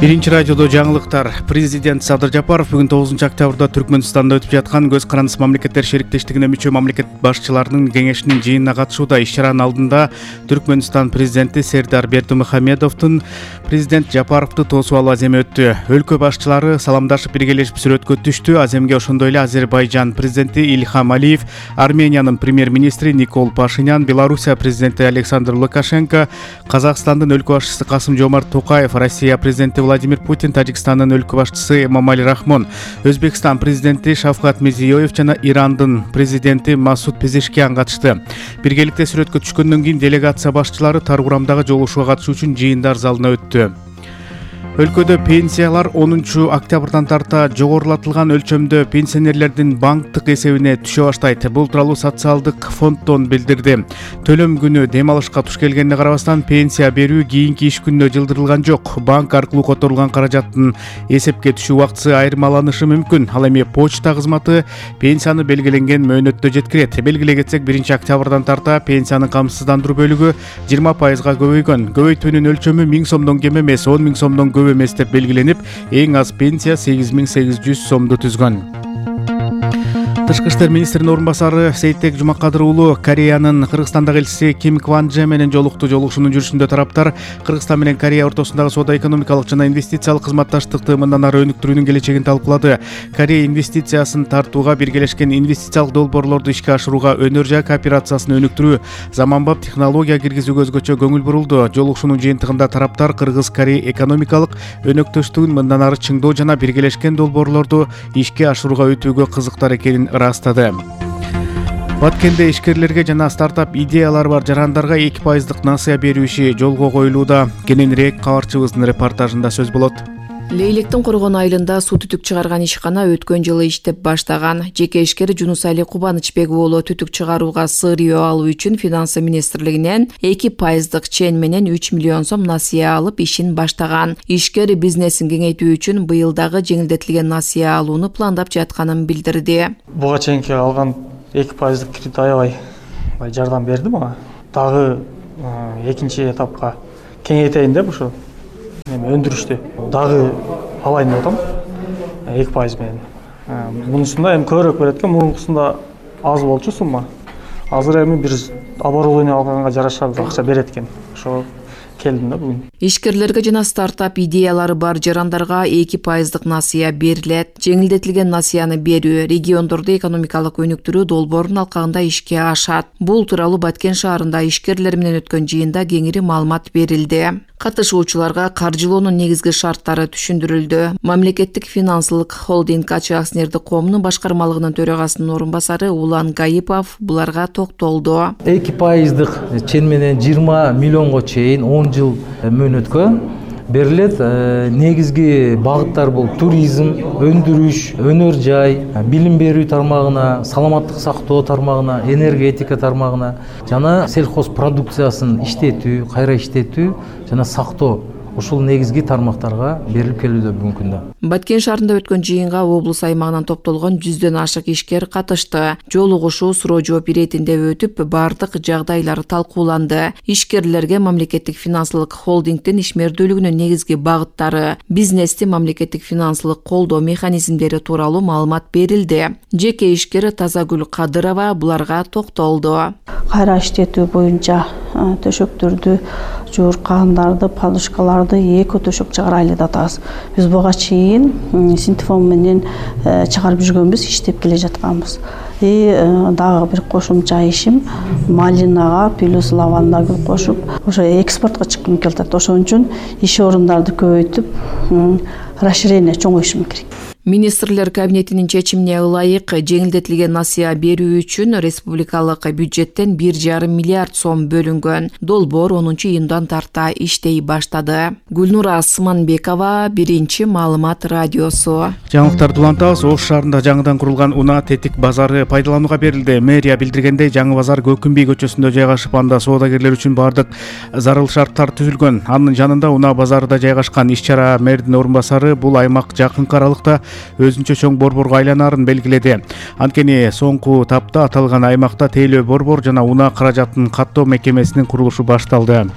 Биринчи радиодо жаңылыктар. Президент Садыр Жапаров бүгүн 9 октябрда Түркмөнстанда өтүп жаткан Көз карандысы мамлекеттер шериктештигине мүчө мамлекет башчыларынын кеңешинин жыйынына катышууда. Иш-чаранын алдында Түркмөнстан президенти Сердар Бердимухамедовдун президент Жапаровду тосуп алуу аземи өттү. Өлкө башчылары саламдашып биргелешип сүрөткө түштү. Аземге ошондой эле Азербайжан президенти Ильхам Алиев, Армениянын премьер-министри Никол Пашинян, Белоруссия президенти Александр Лукашенко, Казакстандын өлкө башчысы Касым-Жомарт Токаев, Россия президенти Владимир Путин, Тажикстандын өлкө башчысы Эмомали Рахмон, Өзбекстан президенти Шавкат Мирзиёев жана Ирандын президенти Масуд Пезешкиян катышты. Биргеликте сүрөткө түшкөндөн кийин делегация башчылары тар курамдагы жолугушууга катышуу үчүн жыйындар залына өттү. Өлкөдө пенсиялар 10 октябрдан тарта жогорулатылган өлчөмдө пенсионерлердин банктык эсебине түшө баштайт. Бул тууралуу социалдык фонддон билдирди. Төлөм күнү дем алышка туш келгенине карабастан пенсия берүү кийинки иш күнүнө жылдырылган жок. Банк аркылуу которулган каражаттын эсепке түшүү убактысы айырмаланышы мүмкүн. Ал эми почта кызматы пенсияны белгиленген мөөнөттө жеткирет. Белгилей кетсек, 1 октябрдан тарта пенсиянын камсыздандыруу бөлүгү 20%га көбөйгөн. Көбөйтүүнүн өлчөмү 1000 сомдон кем эмес, 10 000 сомдон көп эмес деп белгиленип, эң аз пенсия 8800 сомду түзгөн. Тышкы иштер министринин орун басары Сейтек Жумакадыр уулу Кореянын Кыргызстандагы элчиси Ким Кванже менен жолукту. Жолугушуунун жүрүшүндө тараптар Кыргызстан менен Корея ортосундагы соода-экономикалык жана инвестициялык кызматташтыкты мындан ары өнүктүрүүнүн келечегин талкуулады. Корея инвестициясын тартууга, биргелешкен инвестициялык долбоорлорду ишке ашырууга, өнөр жай кооперациясын өнүктүрүү, заманбап технология киргизүүгө өзгөчө көңүл бурулду. Жолугушуунун жыйынтыгында тараптар Кыргыз-Корея экономикалык өнөктөштүгүн мындан ары чыңдоо жана биргелешкен долбоорлорду ишке ашырууга өтүүгө кызыктар экенин ырастады. Баткенде ишкерлерге жана стартап идеялары бар жарандарга 2% насыя берүү иши жолго коюлууда. Кененирээк кабарчыбыздын репортажында сөз болот. Лейлектин Коргон айылында суу түтүк чыгарган ишкана өткөн жылы иштеп баштаган. Жеке ишкер Жунусали Кубанычбек уулу түтүк чыгарууга сырыйоо алуу үчүн финансы министрлигинен 2% чен менен 3 миллион сом насыя алып ишин баштаган. Ишкер бизнесин кеңейтүү үчүн быйыл дагы жеңилдетилген насыя алууну пландап жатканын билдирди. Буга чейинки алган 2% кредит аябай жардам берди мага. Дагы экинчи этапка кеңейтейин деп ушу өндүрүштү дагы алайын деп атам 2% менен. Мунусунда эми көбүрөөк берет экен, мурункусунда аз болчу сумма. Азыр эми бир оборудование алганга жараша акча берет экен. Ошо келдим да бүгүн. Ишкерлерге жана стартап идеялары бар жарандарга 2% насыя берилет. Жеңилдетилген насыяны берүү региондорду экономикалык өнүктүрүү долбоорунун алкагында ишке ашат. Бул тууралуу Баткен шаарында ишкерлер менен өткөн жыйында кеңири маалымат берилди. Катышуучуларга каржылоонун негизги шарттары түшүндүрүлдү. Мамлекеттик финансылык холдинг АЧ акционердик коомунун башкармалыгынын төрагасынын орун басары Улан Гаипов буларга токтолду. 2% чен менен 20 миллионго чейин 10 жыл мөөнөткө берилет. Негизги багыттар бул туризм, өндүрүш, өнөр жай, билим берүү тармагына, саламаттык сактоо тармагына, энергетика тармагына жана сельхоз продукциясын иштетүү, кайра иштетүү жана сактоо. Ушул негизги тармактарга берилип келүүдө бүгүнкү күндө. Баткен шаарында өткөн жыйынга облус аймагынан топтолгон 100дөн ашык ишкер катышты. Жолугушуу суроо жооп иретинде өтүп, бардык жагдайлар талкууланды. Ишкерлерге мамлекеттик финансылык холдингдин ишмердүүлүгүнүн негизги багыттары, бизнести мамлекеттик финансылык колдоо механизмдери тууралуу маалымат берилди. Жеке ишкер Тазагүл Кадырова буларга токтолду. Кайра иштетүү боюнча төшөктөрдү, жууркандарды, подушкаларды эко төшөк чыгарайлы деп атабыз. Биз буга чейин синтефон менен чыгарып жүргөнбүз, иштеп келе жатканбыз. Дагы бир кошумча ишим малинага плюс лавандагы кошуп, ошо экспортко чыккым келет. Ошон үчүн иш орундарды көбөйтүп, расширение чоңойтушум керек. Министрлер кабинетинин чечимине ылайык жеңилдетилген насыя берүү үчүн республикалык бюджеттен 1,5 миллиард сом бөлүнгөн. Долбоор 10-июндан тарта иштей баштады. Гүлнура Асманбекова, Биринчи маалымат радиосу. Жаңылыктарды улантабыз. Ош шаарында жаңыдан курулган Унаа Тетик базары пайдаланууга берилди. Мэрия билдиргендей, жаңы базар Көкүмбий көчөсүндө жайгашып, анда соодагерлер үчүн бардык зарыл шарттар түзүлгөн. Анын жанында Унаа базарында жайгашкан. Иш-чара мэрдин орун басары бул аймак жакынкы аралыкта өзүнчө чоң борборго айланарын белгиледи. Анткени соңку тапта аталган аймакта тейлөө борбор жана унаа каражатын каттоо мекемесинин курулушу башталды.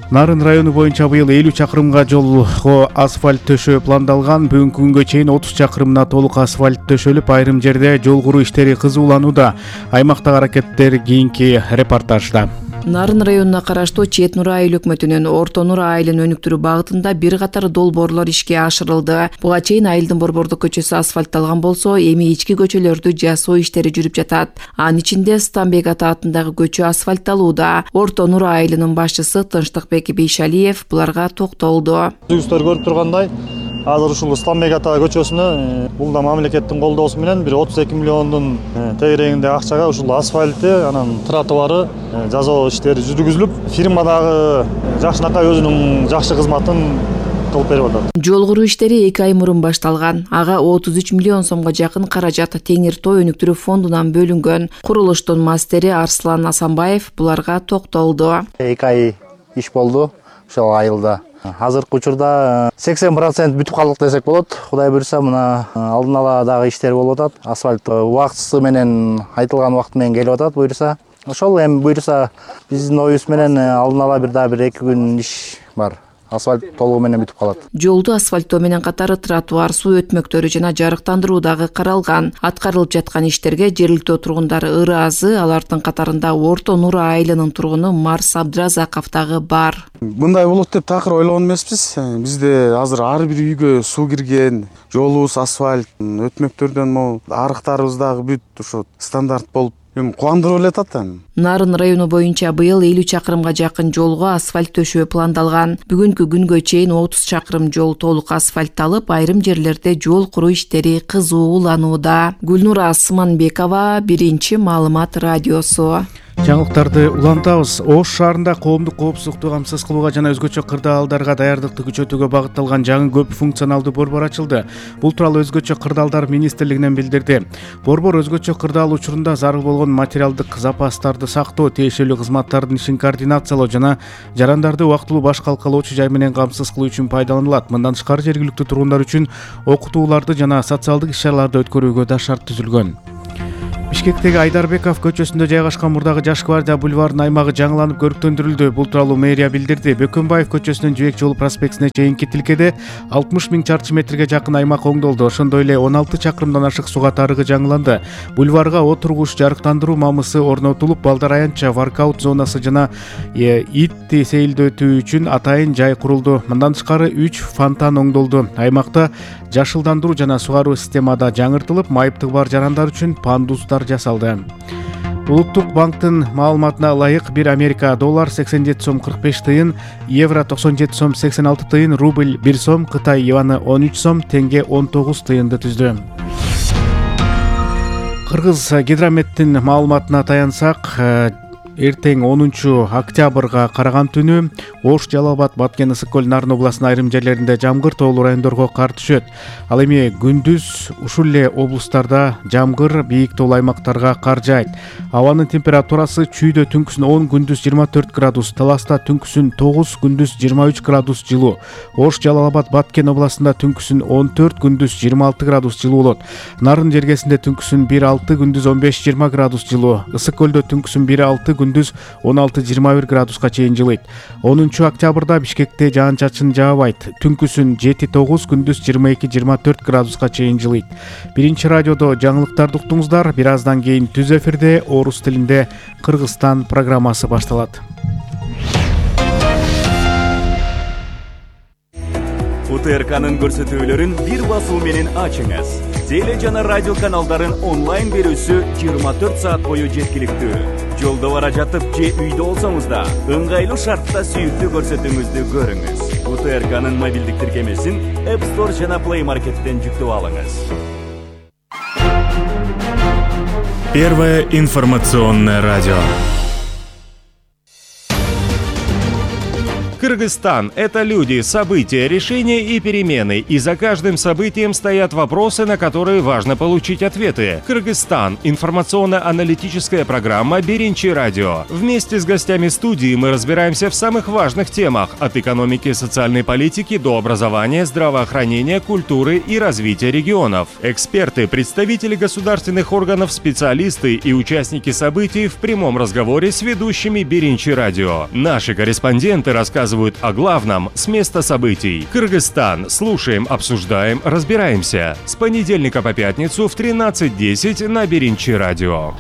Нарын району боюнча быйыл 50 чакырымга жолго асфальт төшөө пландалган. Бүгүнкү күнгө чейин 30 чакырымына толук асфальт төшөлүп, айрым жерде жол куруу иштери кызууланууда. Аймактагы аракеттер кийинки репортажда. Нарын районуна караштуу Чет Нур айыл өкмөтүнүн Орто Нур айылын өнүктүрүү багытында бир катар долбоорлор ишке ашырылды. Буга чейин айылдын Борбордук көчөсү асфальтталган болсо, эми ички көчөлөрдү жасоо иштери жүрүп жатат. Анын ичинде Станбек ата атындагы көчө асфальтталууда. Орто Нур айылынын башчысы Тынчтыкбек Бейшалиев буларга токтолду. Жүздөр көрүп тургандай, азыр ушул Станбек ата көчөсүнө бул да мамлекеттин колдоосу менен бир 32 миллиондун тегерегинде акчага ушул асфальты, анан тротуары жасоо иштери жүргүзүлүп, фирма дагы жакшынакай өзүнүн жакшы кызматын кылып берип атат. Жол куруу иштери 2 ай мурун башталган. Ага 33 миллион сомго жакын каражат Теңир Тоо өнүктүрүү фондунан бөлүнгөн. Курулуштун мастери Арслан Асанбаев буларга токтолду. 2 ай иш болду ошол айылда. Азыркы учурда 80% бүтүп калдык десек болот. Кудай буйруса, мына алдын ала дагы иштер болуп атат. Асфальт убактысы менен айтылган убакыт менен келип атат буйруса. Ошол эми буйруса биздин оюбуз менен алдын ала бир 2 күн иш бар. Асфальт толугу менен бүтүп калат. Жолду асфальттоо менен катары тротуар, суу өтмөктөрү жана жарыктандыруу дагы каралган. Аткарылып жаткан иштерге жергиликтүү тургундар ыраазы, алардын катарында Орто Нур айылынын тургуну Марс Абдразаков дагы бар. Мындай болот деп такыр ойлогон эмеспиз. Бизде азыр ар бир үйгө суу кирген, жолубуз асфальт, өтмөктөрдөн могу арыктарыбыз дагы бүт ошо стандарт болуп кубандырып эле атат. Нарын району боюнча быйыл 50 чакырымга жакын жолго асфальт төшөө пландалган. Бүгүнкү күнгө чейин 30 чакырым жол толук асфальтталып, айрым жерлерде жол куруу иштери кызууланууда. Гүлнура Асманбекова, Биринчи маалымат радиосу. Жаңылыктарды улантабыз. Ош шаарында коомдук коопсуздукту камсыз кылууга жана өзгөчө кырдаалдарга даярдыкты күчөтүүгө багытталган жаңы көп функционалдуу борбор ачылды. Бул тууралуу өзгөчө кырдаалдар министрлигинен билдирди. Борбор өзгөчө кырдаал учурунда зарыл болгон материалдык запастарды сактоо, тиешелүү кызматтардын ишин координациялоо жана жарандарды убактылуу баш калкалоочу жай менен камсыз кылуу үчүн пайдаланылат. Мындан тышкары жергиликтүү тургундар үчүн окутууларды жана социалдык иш-чараларды өткөрүүгө да шарт түзүлгөн. Бишкектеги Айдарбеков көчөсүндө жайгашкан мурдагы Жаш гвардия бульварынын аймагы жаңыланып көрүктөндүрүлдү. Бул тууралуу мэрия билдирди. Бөкөнбаев көчөсүнүн Жибек жолу проспектине чейинки тилкеде 60 000 чарчы метрге жакын аймак оңдолду. Ошондой эле 16 чакырымдан ашык суга тарыгы жаңыланды. Бульварга отургуч, жарыктандыруу мамысы орнотулуп, балдар аянтча, воркаут зонасы жана ит сейилдөтүү үчүн атайын жай курулду. Мындан тышкары 3 фонтан оңдолду. Аймакта жашылдандыруу жана сугаруу системада жаңыртылып, майыптыгы бар жарандар үчүн пандустар жасалды. Улуттук банктын маалыматына ылайык 1 Америка доллар 87 сом 45 тыйын, евро 97 сом 86 тыйын, рубль 1 сом, Кытай юаны 13 сом, тенге 19 тыйынды түздү. Кыргыз гидрометтин маалыматына таянсак, эртең 10 октябрга караган түнү Ош, Жалал Абад, Баткен, Ысык көл, Нарын областынын айрым жерлеринде жамгыр, тоолуу райондорго кар түшөт. Ал эми күндүз ушул эле облустарда жамгыр, бийик тоолуу аймактарга кар жаайт. Абанын температурасы чүйдө түнкүсүн 10, күндүз 24 градус, Таласта түнкүсүн 9, күндүз 23 градус жылуу. Ош, Жалал Абад, Баткен областында түнкүсүн 14, күндүз 26 градус жылуу болот. Нарын жергесинде түнкүсүн 1-6, күндүз 15-20 градус жылуу. Ысык көлдө түнкүсүн 1-6, күндүз 16-21 градуска чейин жылыйт. 10 октябрда Бишкекте жаан-чачын жаабайт. Түнкүсүн 7-9, күндүз 22-24 градуска чейин жылыйт. Биринчи радиодо жаңылыктарды уктуңуздар. Бир аздан кийин түз эфирде орус тилинде Кыргызстан программасы башталат. УТРКнын көрсөтүүлөрүн бир басуу менен ачыңыз. Теле жана радио каналдарын онлайн берүүсү 24 саат бою жеткиликтүү. Жолдо бара жатып же үйдө болсоңуз да, ыңгайлуу шартта сүйүктүү көрсөтүүңүздү көрүңүз. УТРКнын мобилдик тиркемесин App Store жана Play Market'тен жүктөп алыңыз. Первое информационное радио. Кыргызстан – это люди, события, решения и перемены. И за каждым событием стоят вопросы, на которые важно получить ответы. Кыргызстан – информационно-аналитическая программа «Биринчи радио». Вместе с гостями студии мы разбираемся в самых важных темах – от экономики и социальной политики до образования, здравоохранения, культуры и развития регионов. Эксперты, представители государственных органов, специалисты и участники событий в прямом разговоре с ведущими «Биринчи радио». Наши корреспонденты рассказывают рассказывают о главном с места событий. Кыргызстан. Слушаем, обсуждаем, разбираемся. С понедельника по пятницу в 13:10 на Беринчи радио.